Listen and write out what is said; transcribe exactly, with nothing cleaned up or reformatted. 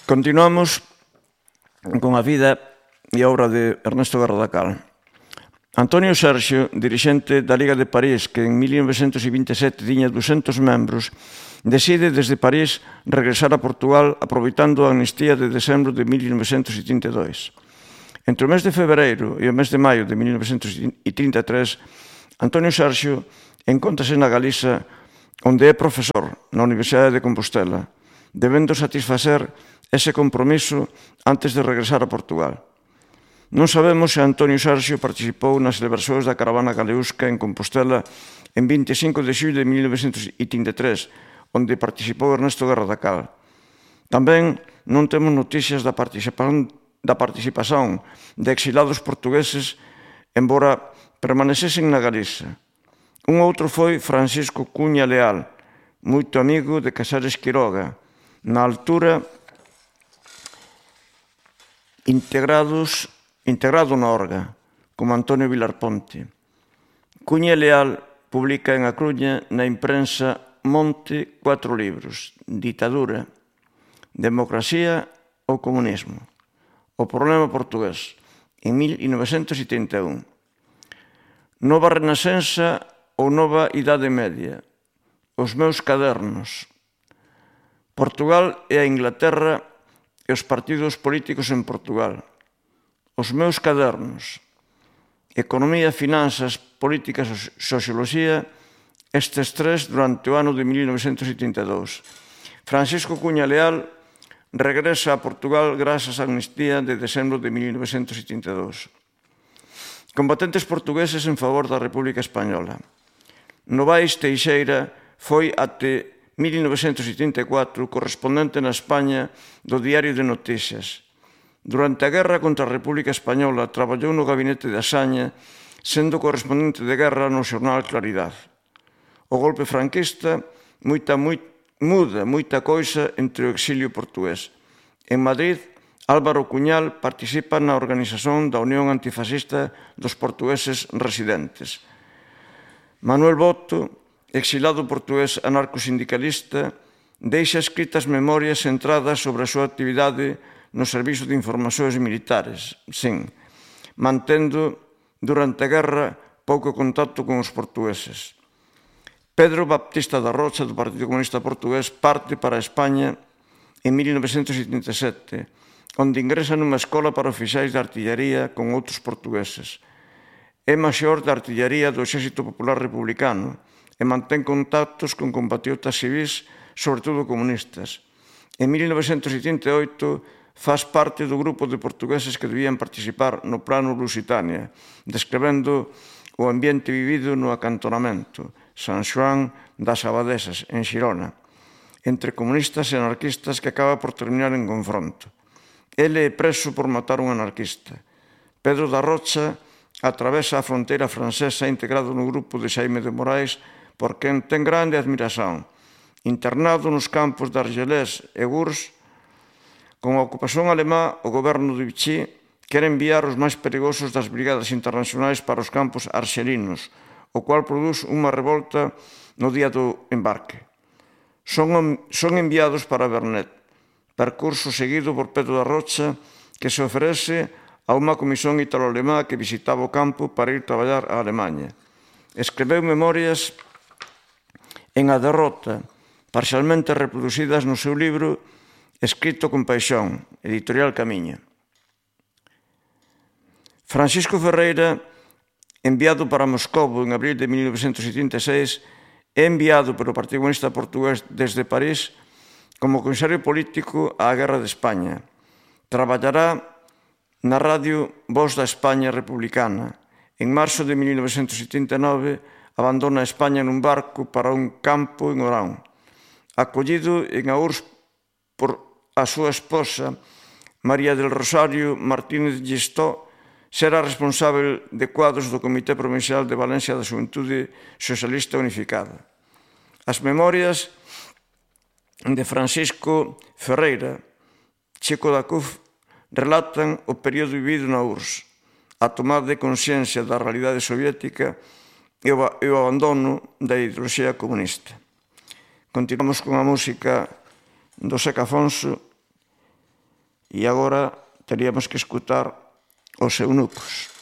Continuamos con a vida e a obra de Ernesto Gardacal. Antonio Sergio, dirixente da Liga de París, que en mil novecentos vinte e sete tiña ducentos membros, decide desde París regresar a Portugal aproveitando a amnistía de decembro de mil novecentos trinta e dous. Entre o mes de febreiro e o mes de maio de mil novecentos trinta e tres, Antonio Sergio encóntrase na Galiza, onde é profesor na Universidade de Compostela, debendo satisfacer ese compromiso antes de regresar a Portugal. Non sabemos se Antonio Sergio participou nas celebracións da caravana galeusca en Compostela en vinte e cinco de xullo de mil novecentos trinta e tres, onde participou Ernesto Gardacal. Tamén non temos noticias da participación, da participación de exilados portugueses, embora permanecesen na Galiza. Un outro foi Francisco Cuña Leal, moito amigo de Casares Quiroga, na altura integrados integrado na Orga, como Antonio Vilar Ponte. Cuña Leal publica en A Coruña na imprensa Monte cuatro libros: Ditadura, Democracia ou Comunismo, O problema portugués, en mil novecentos setenta e un. Nova Renascença ou Nova Idade Media, Os meus cadernos, Portugal e a Inglaterra e os partidos políticos en Portugal, Os meus cadernos, Economía, Finanzas, Políticas e Socioloxía, estes tres durante o ano de mil novecentos setenta e dous. Francisco Cuña Leal regresa a Portugal grazas á amnistía de decembro de mil novecentos setenta e dous. Combatentes portugueses en favor da República Española. Novais Teixeira foi até mil novecentos setenta e catro correspondente na España do Diario de Noticias. Durante a guerra contra a República Española traballou no gabinete de Asaña, sendo correspondente de guerra no xornal Claridad. O golpe franquista moita, moi, muda moita coisa entre o exilio portugués. En Madrid, Álvaro Cuñal participa na organización da Unión Antifascista dos Portugueses Residentes. Manuel Boto, exilado portugués anarcosindicalista, deixa escritas memorias centradas sobre a súa actividade no Servizo de Informacións Militares, sin, mantendo durante a guerra pouco contacto con os portugueses. Pedro Baptista da Rocha, do Partido Comunista Portugués, parte para España en mil novecentos setenta e sete, onde ingresa nunha escola para oficiais de artillaría con outros portugueses. É maior de artillaría do Exército Popular Republicano e mantén contactos con compatriotas civis, sobre todo comunistas. En mil novecentos setenta e oito, faz parte do grupo de portugueses que debían participar no Plano Lusitania, describendo o ambiente vivido no acantonamento San Xoán das Abadesas, en Xirona, entre comunistas e anarquistas, que acaba por terminar en confronto. Ele é preso por matar un anarquista. Pedro da Rocha atravesa a fronteira francesa integrado no grupo de Xaime de Moraes, por quen ten grande admiración. Internado nos campos de Argelès e Gurs, con a ocupación alemá, o goberno de Vichy quere enviar os máis perigosos das brigadas internacionais para os campos arxelinos, o cual produz unha revolta no día do embarque. Son, son enviados para Vernet, percurso seguido por Pedro da Rocha, que se oferece a unha comisión italo-alemá que visitaba o campo para ir traballar a Alemanha. Escreveu memorias en A Derrota, parcialmente reproducidas no seu libro Escrito con paixón, editorial Camiño. Francisco Ferreira, enviado para Moscovo en abril de mil novecentos setenta e seis, é enviado pelo Partido Comunista Portugués desde París como comisario político á Guerra de España. Traballará na radio Voz da España Republicana. En marzo de mil novecentos setenta e nove, abandona España nun barco para un campo en Orán. Acollido en Aúrs por a súa esposa, María del Rosario Martínez Gistó, será responsável de cuadros do Comité Provincial de Valencia da Xuventude Socialista Unificada. As memorias de Francisco Ferreira, Chico da Cuf, relatan o período vivido na U R S S, a tomada de consciencia da realidade soviética e o abandono da ideoloxía comunista. Continuamos con a música do Seca Afonso E agora teríamos que escutar os eunucos.